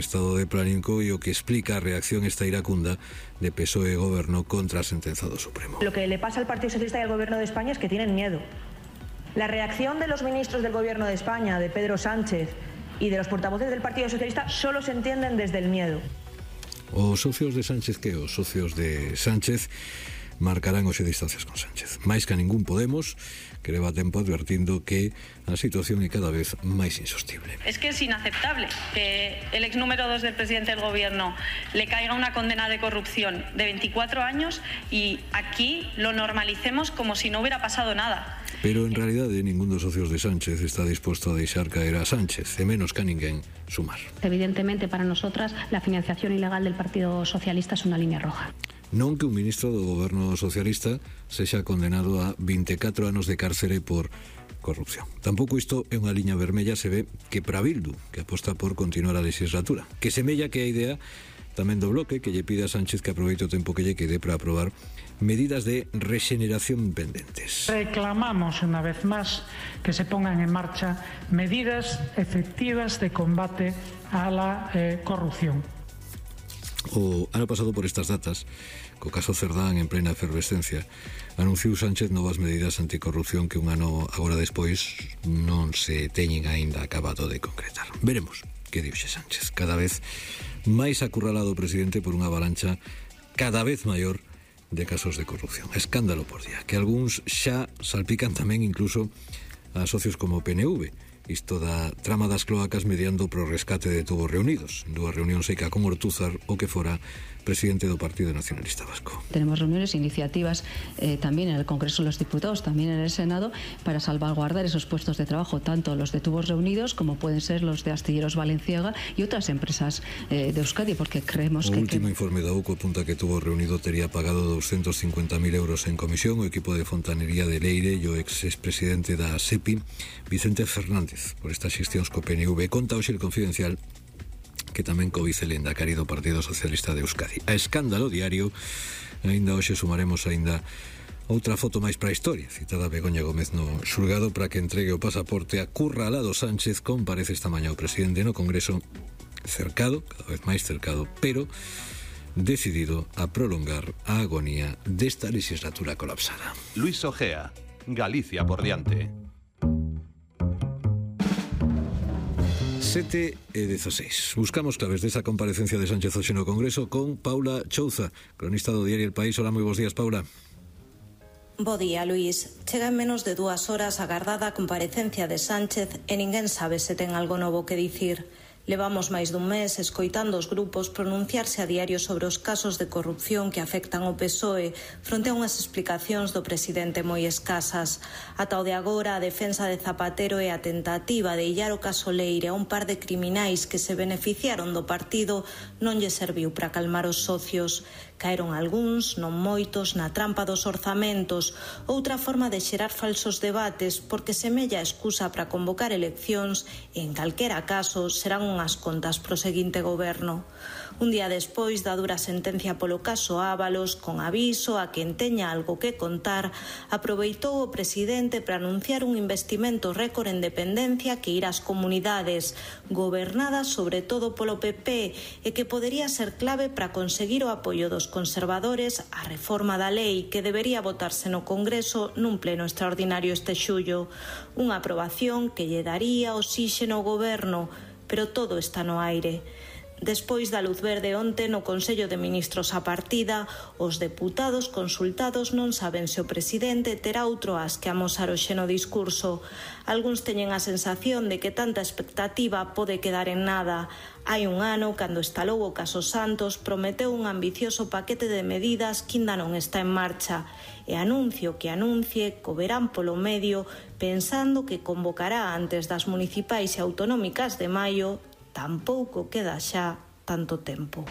estado de pánico e o que explica a reacción esta iracunda de PSOE e Goberno contra a sentenza do Supremo. Lo que le pasa al Partido Socialista y al Gobierno de España es que tienen miedo. La reacción de los ministros del Gobierno de España, de Pedro Sánchez y de los portavoces del Partido Socialista solo se entienden desde el miedo. Os socios de Sánchez os socios de Sánchez marcarán hoxe distancias con Sánchez. Máis que a ningún Podemos, que leva tempo advertindo que a situación é cada vez máis insostible. Es que es inaceptable que el ex número 2 del presidente del gobierno le caiga una condena de corrupción de 24 años y aquí lo normalicemos como si no hubiera pasado nada. Pero en realidade ningún dos socios de Sánchez está disposto a deixar caer a Sánchez, e menos que a ninguén sumar. Evidentemente, para nosotras, la financiación ilegal del Partido Socialista es una línea roja. Non que un ministro do goberno socialista sexa condenado a 24 anos de cárcere por corrupción. Tampouco isto é unha liña vermella, se ve que para Bildu, que aposta por continuar a legislatura, que semella que a idea tamén do Bloque, que lle pide a Sánchez que aproveite o tempo que lle quede para aprobar medidas de rexeneración pendentes. Reclamamos unha vez máis que se pongan en marcha medidas efectivas de combate a la corrupción. O ano pasado por estas datas, co caso Cerdán en plena efervescencia, anunciou Sánchez novas medidas anticorrupción que un ano agora despois non se teñen aínda acabado de concretar. Veremos que dixe Sánchez. Cada vez máis acurralado o presidente por unha avalancha cada vez maior de casos de corrupción. Escándalo por día, que algúns xa salpican tamén incluso a socios como o PNV. Isto da trama das cloacas mediando pro rescate de Tubos Reunidos, dúas reunións seca con Ortúzar, o que fora presidente do Partido Nacionalista Vasco. Tenemos reuniones e iniciativas también en el Congreso de los Diputados, también en el Senado, para salvaguardar esos puestos de trabajo, tanto los de Tubos Reunidos como pueden ser los de Astilleros Valenciaga y otras empresas de Euskadi, porque creemos que... O último informe da UCO apunta que Tubos Reunido tería pagado 250.000 euros en comisión o equipo de fontanería de Leire e o expresidente da SEPI, Vicente Fernández, por estas xestións co PNV. Conta hoxe el Confidencial que tamén cobice el endacari do Partido Socialista de Euskadi. A escándalo diario, aínda hoxe sumaremos aínda outra foto máis para a historia, citada Begoña Gómez no xulgado para que entregue o pasaporte a Curralado Sánchez. Comparece esta mañá o presidente no Congreso, cercado, cada vez máis cercado, pero decidido a prolongar a agonía desta legislatura colapsada. Luis Ojea, Galicia por diante. 7:16. Buscamos claves desa comparecencia de Sánchez hoxe no Congreso con Paula Chouza, cronista do diario El País. Hola, moi bons días, Paula. Bo día, Luís. Chega en menos de 2 horas agardada a comparecencia de Sánchez e ninguén sabe se ten algo novo que dicir. Levamos máis dun mes escoitando os grupos pronunciarse a diario sobre os casos de corrupción que afectan o PSOE fronte a unhas explicacións do presidente moi escasas. Ata o de agora, a defensa de Zapatero e a tentativa de illar o caso Leire a un par de criminais que se beneficiaron do partido non lle serviu para calmar os socios. Caeron algúns, non moitos, na trampa dos orzamentos, outra forma de xerar falsos debates porque semella a excusa para convocar eleccións e, en calquera caso, serán unhas contas pro seguinte goberno. Un día despois da dura sentencia polo caso Ábalos, con aviso a quen teña algo que contar, aproveitou o presidente para anunciar un investimento récord en dependencia que irá ás comunidades, gobernadas sobre todo polo PP, e que podería ser clave para conseguir o apoio dos conservadores á reforma da lei que debería votarse no Congreso nun pleno extraordinario este xullo. Unha aprobación que lle daría oxíxeno ao goberno, pero todo está no aire. Despois da luz verde onte no Consello de Ministros a partida, os deputados consultados non saben se o presidente terá outro as que amosar hoxe no discurso. Algúns teñen a sensación de que tanta expectativa pode quedar en nada. Hai un ano, cando estalou o caso Santos, prometeu un ambicioso paquete de medidas que ainda non está en marcha. E anuncio que anuncie, co verán polo medio, pensando que convocará antes das municipais e autonómicas de maio, tampouco queda xa tanto tempo.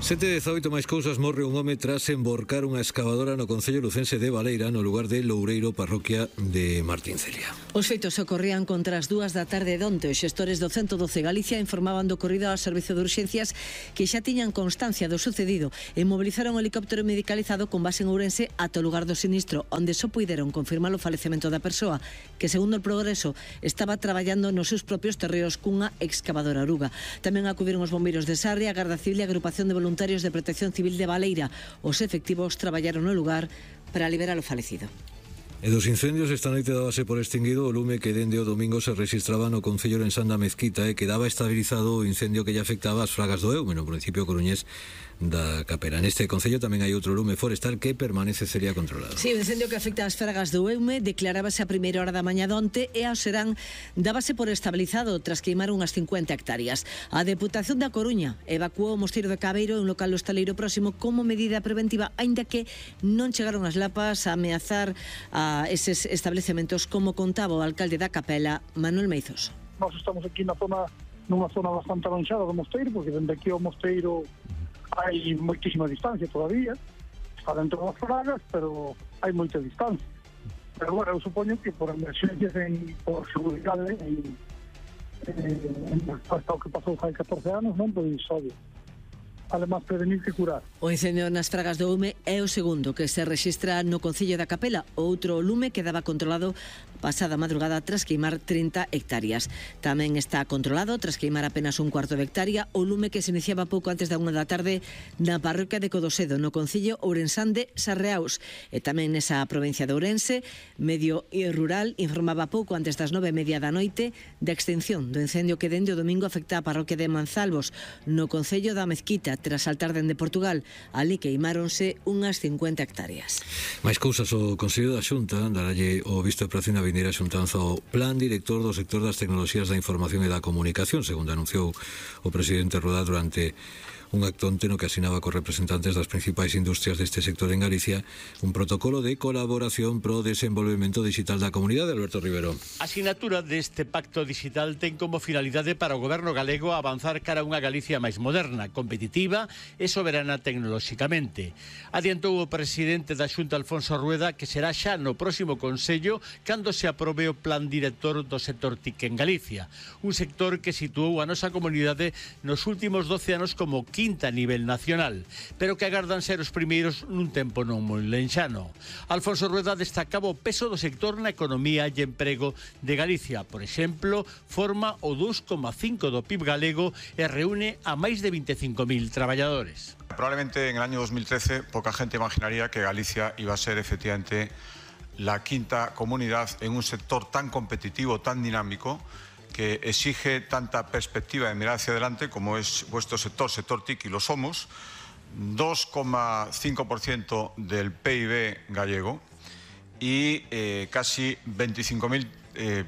7:18 máis cousas. Morre un home tras emborcar unha excavadora no concello lucense de Baleira, no lugar de Loureiro, parroquia de Martíncelia. Os feitos ocorrían contra as 2 da tarde de onte. Os xestores do 112 Galicia informaban do ocorrido ao servizo de urxencias, que xa tiñan constancia do sucedido e mobilizaron o helicóptero medicalizado con base en Ourense ata o lugar do sinistro, onde só puideron confirmar o falecemento da persoa, que segundo o Progreso estaba traballando nos seus propios terreos cunha excavadora oruga. Tamén acudiron os bombeiros de Sarria, a Garda Civil e a Agrupación de Voluntarios de Protección Civil de Baleira. Os efectivos traballaron no lugar para liberar o falecido. E dos incendios, esta noite dábase por extinguido o lume que dende o domingo se registraba no concello de Ensanda Mezquita e quedaba estabilizado o incendio que lle afectaba as Fragas do Eume, no municipio coruñés da Capela. Neste concello tamén hai outro lume forestal que permanece sería controlado. Sí, o incendio que afecta as Fragas do Eume declarábase a primeira hora da mañá de onte e ao serán dábase por estabilizado tras queimar unhas 50 hectáreas. A Deputación da Coruña evacuou o Mosteiro de Cabeiro, un local hostaleiro próximo, como medida preventiva, aínda que non chegaron as lapas a ameazar a eses establecementos, como contaba o alcalde da Capela, Manuel Meizos. Nós estamos aquí nunha zona bastante avanzada do Mosteiro, porque dende aquí ao Mosteiro hai moitísima distancia todavía, está dentro das Fragas, pero hai moita distancia. Pero bueno, eu supoño que por emerxencias por seguridade en resposta ao que pasou hai 14 anos, non, pois obvio. Además, prevenir que curar. O incendio nas Fragas do Eume é o segundo que se rexistra no concello da Capela. Outro lume quedaba controlado pasada madrugada tras queimar 30 hectáreas. Tamén está controlado tras queimar apenas un cuarto de hectárea o lume que se iniciaba pouco antes da 1 da tarde na parroquia de Codosedo, no concello ourensán de Sarreaus. E tamén nesa provincia de Ourense, Medio e Rural informaba pouco antes das 9:30 da noite da extinción do incendio que dende o domingo afecta a parroquia de Manzalvos, no concello da Mezquita, tras saltar dende Portugal. Ali queimáronse unhas 50 hectáreas. Mais cousas, o Consello da Xunta daralle o visto de prazo na vindeira xuntanza ao Plan Director do sector das tecnoloxías da información e da comunicación, segundo anunciou o presidente Rueda durante un acto onte no que asinaba cos representantes das principais industrias deste sector en Galicia un protocolo de colaboración pro desenvolvemento digital da comunidade. Alberto Rivero. A sinatura deste pacto digital ten como finalidade para o goberno galego avanzar cara a unha Galicia máis moderna, competitiva e soberana tecnolóxicamente. Adiantou o presidente da Xunta, Alfonso Rueda, que será xa no próximo Consello cando se aprobe o plan director do sector TIC en Galicia, un sector que situou a nosa comunidade nos últimos 12 anos como quinta a nivel nacional, pero que agardan ser os primeiros nun tempo non moi lenxano. Alfonso Rueda destacaba o peso do sector na economía e emprego de Galicia. Por exemplo, forma o 2,5 do PIB galego e reúne a máis de 25.000 traballadores. Probablemente en el año 2013 poca gente imaginaría que Galicia iba a ser efectivamente la quinta comunidad en un sector tan competitivo, tan dinámico, que exige tanta perspectiva de mirar hacia adelante como es vuestro sector TIC, y lo somos, 2,5% del PIB gallego y casi 25.000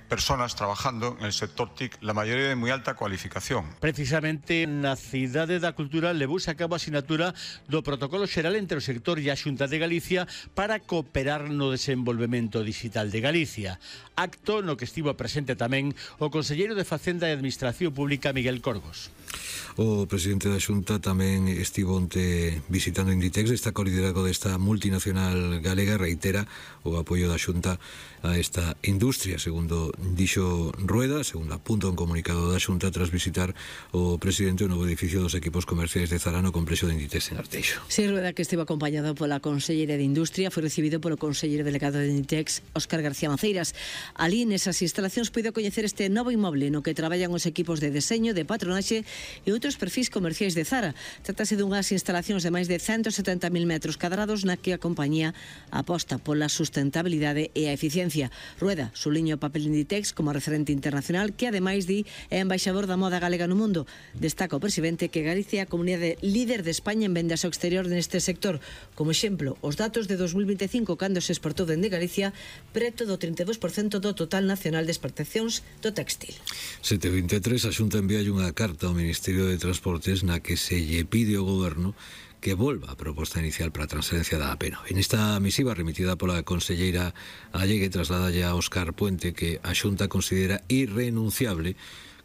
personas trabajando en el sector TIC, la mayoría de muy alta cualificación. Precisamente na Cidade da Cultura levouse a cabo a sinatura do protocolo xeral entre o sector e a Xunta de Galicia para cooperar no desenvolvemento digital de Galicia. Acto no que estivo presente tamén o conselleiro de Facenda e Administración Pública, Miguel Corgos. O presidente da Xunta tamén estivo onte visitando Inditex, destaca o liderazgo desta multinacional galega, reitera o apoio da Xunta a esta industria, segundo dixo Rueda, segundo apunta un comunicado da Xunta tras visitar o presidente o novo edificio dos equipos comerciais de Zara no complexo de Inditex en Arteixo. Sí, Rueda, que estivo acompañado pola conselleira de Industria, foi recibido polo conselleiro delegado de Inditex, Óscar García Maceiras. Ali, nesas instalacións, puido coñecer este novo inmoble no que traballan os equipos de deseño, de patronaxe e outros perfis comerciais de Zara. Trátase dunhas instalacións de máis de 170.000 metros cadrados na que a compañía aposta pola sustentabilidade e a eficiencia. Rueda suliña o papel de Inditex como referente internacional que, ademais, é embaixador da moda galega no mundo. Destaca o presidente que Galicia é a comunidade líder de España en vendas ao exterior neste sector. Como exemplo, os datos de 2025, cando se exportou dende Galicia preto do 32% do total nacional de exportacións do textil. 7:23, a Xunta envía unha carta ao Ministerio de Transportes na que se lle pide ao goberno que volva a proposta inicial para a transferencia da APENO. En esta misiva remitida pola conselleira Allegue trasladalle a Óscar Puente que a Xunta considera irrenunciable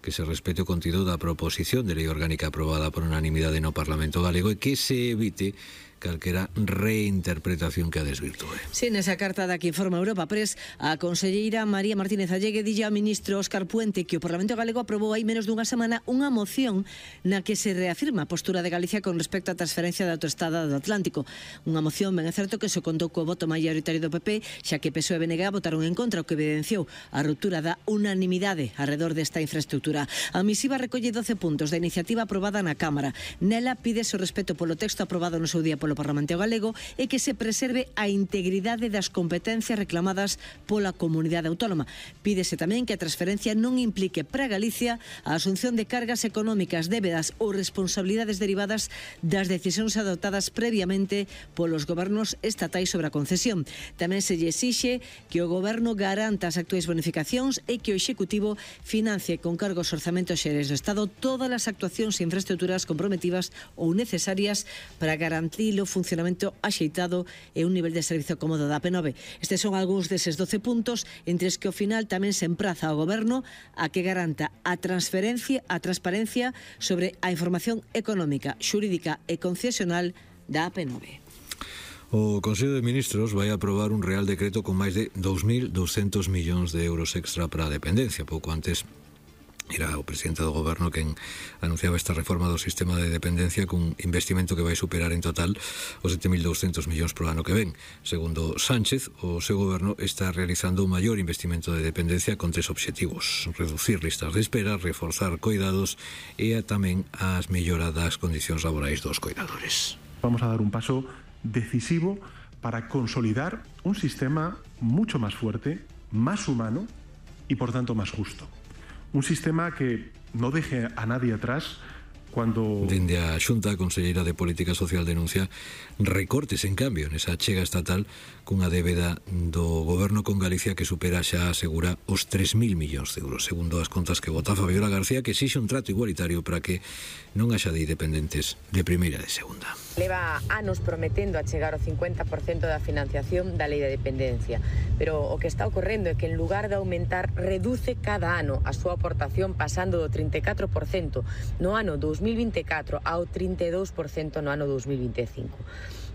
que se respete o contido da proposición de lei orgánica aprobada por unanimidade no Parlamento galego e que se evite calquera reinterpretación que a desvirtúe. Sí, nesa carta da que informa Europa Press, a conselleira María Martínez Allegue dille ao ministro Óscar Puente que o Parlamento galego aprobou hai menos dunha semana unha moción na que se reafirma a postura de Galicia con respecto á transferencia da autoestrada do Atlántico. Unha moción, ben é certo, que se contou co voto maioritario do PP, xa que PSOE e BNG votaron en contra, o que evidenciou a ruptura da unanimidade arredor desta infraestructura. A misiva recolle 12 puntos da iniciativa aprobada na Cámara. Nela pídese o respeto polo texto aprobado no seu día polo Parlamento galego e que se preserve a integridade das competencias reclamadas pola comunidade autónoma. Pídese tamén que a transferencia non implique para Galicia a asunción de cargas económicas, débedas ou responsabilidades derivadas das decisións adoptadas previamente polos gobernos estatais sobre a concesión. Tamén se lle exixe que o goberno garanta as actuais bonificacións e que o Executivo financie con cargos orzamentos xerais do Estado todas as actuacións e infraestructuras comprometidas ou necesarias para garantir o funcionamento axeitado e un nivel de servizo cómodo da P9. Estes son algúns deses 12 puntos, entre os que ao final tamén se empraza ao Goberno a que garanta a transparencia sobre a información económica, xurídica e concesional da P9. O Consello de Ministros vai aprobar un real decreto con máis de 2.200 millóns de euros extra para a dependencia. Pouco antes era o presidente do goberno quen anunciaba esta reforma do sistema de dependencia cun investimento que vai superar en total os 7.200 millóns por ano que ven. Segundo Sánchez, o seu goberno está realizando un maior investimento de dependencia con 3 obxectivos: reducir listas de espera, reforzar coidados e tamén as mellora das condicións laborais dos coidadores. Vamos a dar un paso decisivo para consolidar un sistema mucho más fuerte, más humano y por tanto más justo. Un sistema que no deje a nadie atrás cuando... Dende a Xunta, a conselleira de Política Social denuncia recortes, en cambio, nesa chega estatal cunha débeda do goberno con Galicia que supera, xa asegura, os 3.000 millóns de euros, segundo as contas que vota Fabiola García, que exixe un trato igualitario para que non haxa de independentes de primeira e de segunda. Leva anos prometendo achegar o 50% da financiación da lei de dependencia, pero o que está ocorrendo é que en lugar de aumentar, reduce cada ano a súa aportación pasando do 34% no ano 2024 ao 32% no ano 2025.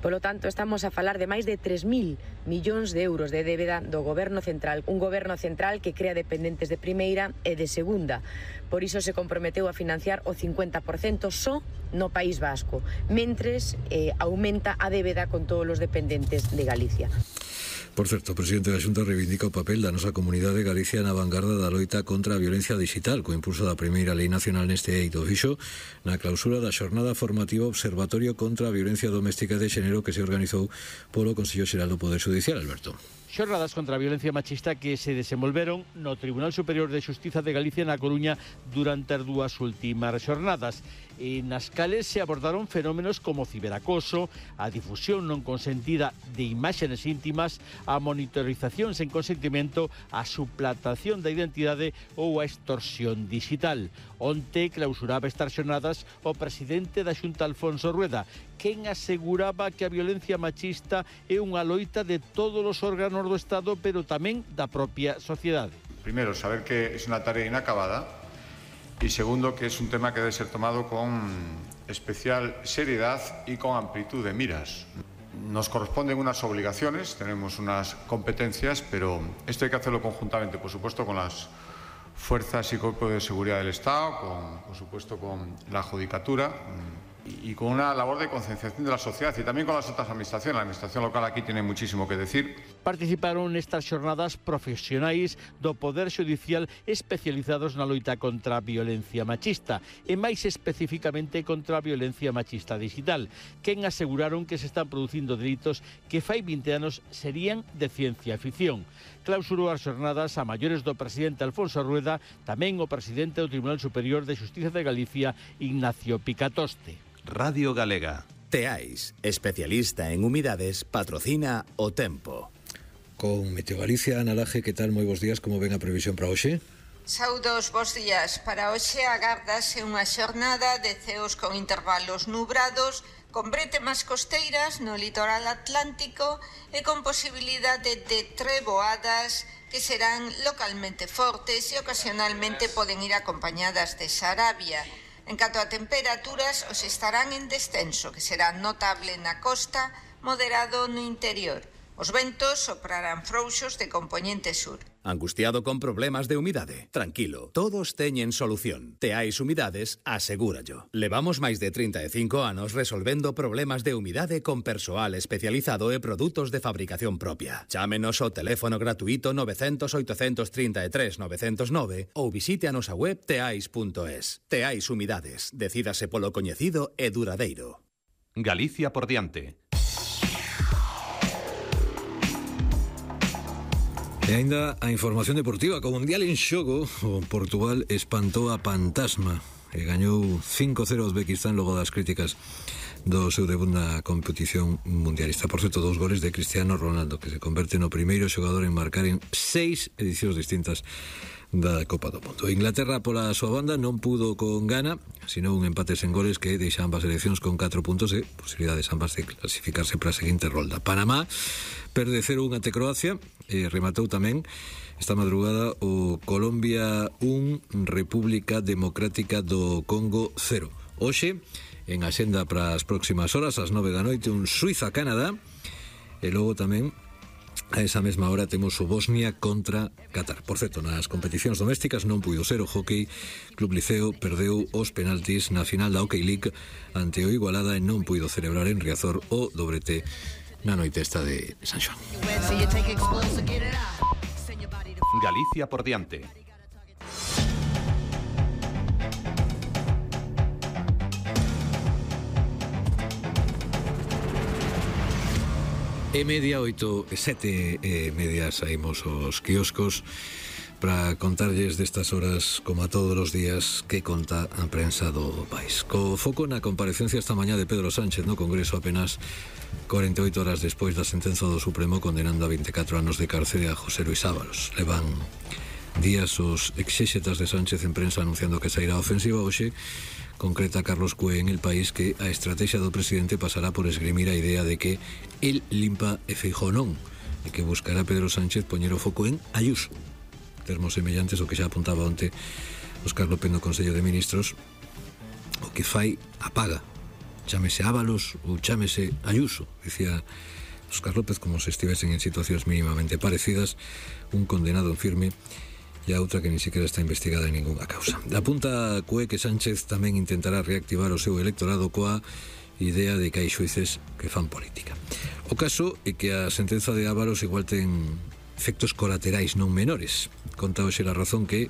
Polo tanto, estamos a falar de máis de 3.000 millóns de euros de débeda do Goberno Central, un Goberno Central que crea dependentes de primeira e de segunda. Por iso se comprometeu a financiar o 50% só no País Vasco, mentres aumenta a débeda con todos os dependentes de Galicia. Por certo, o presidente da Xunta reivindica o papel da nosa comunidade Galicia na vanguarda da loita contra a violencia digital, co impulso da primeira lei nacional neste eido. Fixo na clausura da xornada formativa Observatorio contra a Violencia Doméstica de Xénero que se organizou polo Consello Xeral do Poder Judicial, Alberto. Xornadas contra a violencia machista que se desenvolveron no Tribunal Superior de Xustiza de Galicia na Coruña durante as 2 últimas xornadas, e nas cales se abordaron fenómenos como ciberacoso, a difusión non consentida de imaxes íntimas, a monitorización sen consentimento, a suplantación da identidade ou a extorsión digital. Onte clausuraba estas xornadas o presidente da Xunta, Alfonso Rueda, quen aseguraba que a violencia machista é unha loita de todos os órganos do Estado, pero tamén da propia sociedade. Primero, saber que es una tarea inacabada y segundo, que es un tema que debe ser tomado con especial seriedad y con amplitud de miras. Nos corresponden unas obligaciones, tenemos unas competencias, pero esto hay que hacerlo conjuntamente, por supuesto, con las fuerzas y cuerpos de seguridad del Estado, por supuesto con la Judicatura y con una labor de concienciación de la sociedad y también con las otras administraciones. La administración local aquí tiene muchísimo que decir. Participaron nestas xornadas profesionais do Poder Judicial especializados na loita contra a violencia machista e máis especificamente contra a violencia machista digital, quen aseguraron que se están producindo delitos que fai 20 anos serían de ciencia ficción. Clausurou as xornadas a maiores do presidente Alfonso Rueda, tamén o presidente do Tribunal Superior de Xustiza de Galicia, Ignacio Picatoste. Radio Galega. Teais, especialista en humidades, patrocina O Tempo. Con Meteo Galicia, Ana Laje, que tal? Moi bons días, como ven a previsión para hoxe? Saudos, bons días. Para hoxe agárdase unha xornada de ceos con intervalos nubrados, con bretemas costeiras no litoral atlántico e con posibilidade de treboadas que serán localmente fortes e ocasionalmente poden ir acompañadas de sarabia. En canto a temperaturas, os estarán en descenso, que será notable na costa, moderado no interior. Os ventos soprarán frouxos de compoñente sur. Angustiado con problemas de humidade? Tranquilo, todos teñen solución. Teais Humidades asegúrallo. Levamos máis de 35 anos resolvendo problemas de humidade con persoal especializado e produtos de fabricación propia. Chámenos ao teléfono gratuito 900 833 909 ou visite a nosa web teais.es. Teais Humidades. Decídase polo coñecido e duradeiro. Galicia por diante. E ainda a información deportiva, co Mundial en xogo, o Portugal espantou a Pantasma e gañou 5-0 a Uzbekistán logo das críticas do seu debut na competición mundialista. Por certo, 2 goles de Cristiano Ronaldo, que se converte no primeiro xogador en marcar en 6 edicións distintas da Copa do Mundo. Inglaterra, pola súa banda, non pudo con Ghana, sino un empate sen goles que deixa ambas seleccións con 4 puntos e posibilidades ambas de clasificarse para a seguinte rolda. Panamá perde 0-1 ante Croacia e rematou tamén esta madrugada o Colombia 1, República Democrática do Congo 0. Hoxe, en axenda para as próximas horas, ás 9 da noite, un Suiza-Canadá, e logo tamén a esa mesma hora temos o Bosnia contra Qatar. Por certo, nas competicións domésticas non puido ser o Hockey. Club Liceo perdeu os penaltis na final da Hockey League ante o Igualada e non puido celebrar en Riazor o dobrete na noite esta de San Xoán. Galicia por diante. E media, 8 e 7 e media saímos os quioscos para contarlles destas horas, como a todos os días, que conta a prensa do país. Co foco na comparecencia esta mañá de Pedro Sánchez no Congreso apenas 48 horas despois da sentenza do Supremo condenando a 24 anos de cárcere a José Luis Ábalos. Levan días os exéxetas de Sánchez en prensa anunciando que sairá a ofensiva. Hoxe concreta Carlos Cue en El País que a estrategia do presidente pasará por esgrimir a idea de que el limpa e Feijóo non, e que buscará Pedro Sánchez poñer o foco en Ayuso. Termos semellantes o que xa apuntaba onte Óscar López no Consello de Ministros. O que fai apaga, chámese Ábalos ou chámese Ayuso, dicía Óscar López, como se estivesen en situacións mínimamente parecidas, un condenado en firme e a outra que ni siquiera está investigada en ninguna causa. Apunta Cue que Sánchez tamén intentará reactivar o seu electorado coa idea de que hai xuíces que fan política. O caso é que a sentenza de Ábalos igual ten efectos colaterais non menores. Conta hoxe La Razón que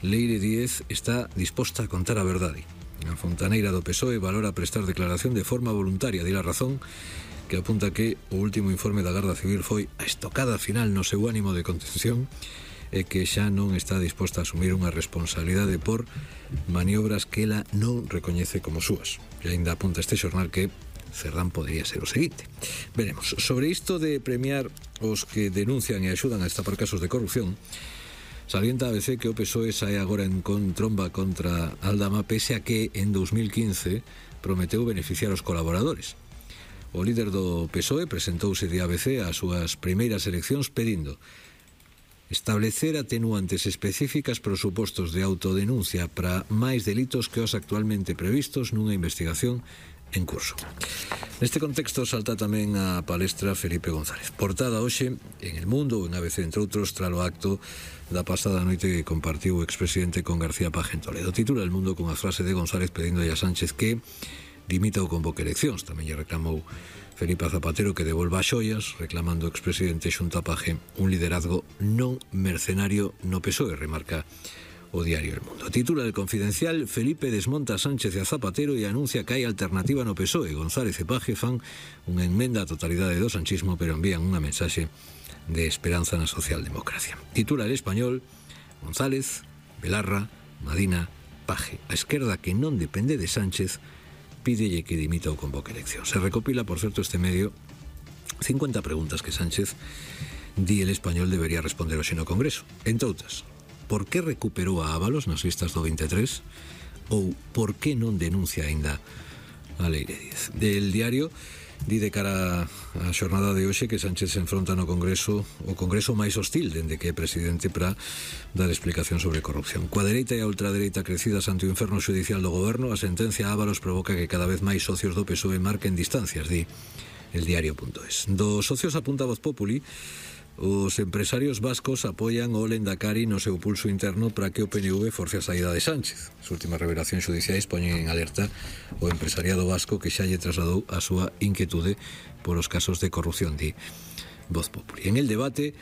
Leire Díez está disposta a contar a verdade. A fontaneira do PSOE valora prestar declaración de forma voluntaria. Di La Razón que apunta que o último informe da Garda Civil foi a estocada final no seu ánimo de contención e que xa non está disposta a asumir unha responsabilidade por maniobras que ela non recoñece como súas. E ainda apunta este xornal que Cerdán podría ser o seguinte. Veremos. Sobre isto de premiar os que denuncian e axudan a destapar casos de corrupción, salienta a ABC que o PSOE sae agora en tromba contra Aldama pese a que en 2015 prometeu beneficiar os colaboradores. O líder do PSOE presentouse de ABC ás súas primeiras eleccións pedindo establecer atenuantes específicas para os supostos de autodenuncia para máis delitos que os actualmente previstos nunha investigación en curso. Neste contexto salta tamén a palestra Felipe González. Portada hoxe en El Mundo ou en ABC, entre outros, tralo acto da pasada noite que compartiu o expresidente con García Paje en Toledo. Titula El Mundo con a frase de González pedindo a Sánchez que dimita ou convoque eleccións. Tamén lle reclamou Felipe Zapatero que devolva as xoias, reclamando o expresidente xunto a Paje un liderazgo non mercenario no PSOE, remarca o diario El Mundo. Titula El Confidencial, Felipe desmonta a Sánchez e a Zapatero e anuncia que hai alternativa no PSOE. González e Paje fan unha enmenda á totalidade do sanchismo, pero envían unha mensaxe de esperanza na socialdemocracia. Titula El Español, González, Belarra, Madina, Paje. A esquerda que non depende de Sánchez pídelle que dimita ou convoque elección. Se recopila, por certo, este medio 50 preguntas que Sánchez di El Español debería responder hoxe no Congreso. Entre outras, por que recuperou a Ábalos nas listas do 23 ou por que non denuncia aínda a Leire Díez. Del diario Di de cara á xornada de hoxe que Sánchez se enfronta no Congreso, o Congreso máis hostil dende que é presidente, para dar explicación sobre corrupción. Coa dereita e a ultradereita crecidas ante o inferno judicial do goberno, a sentencia Ábalos provoca que cada vez máis socios do PSOE marquen distancias, di el diario.es. Dos socios apunta Voz Populi, os empresarios vascos apoian o Lendakari no seu pulso interno para que o PNV force a saída de Sánchez. As últimas revelacións judiciais poñen en alerta o empresariado vasco que xa lle trasladou a súa inquietude por os casos de corrupción, di Voz Populi. En el debate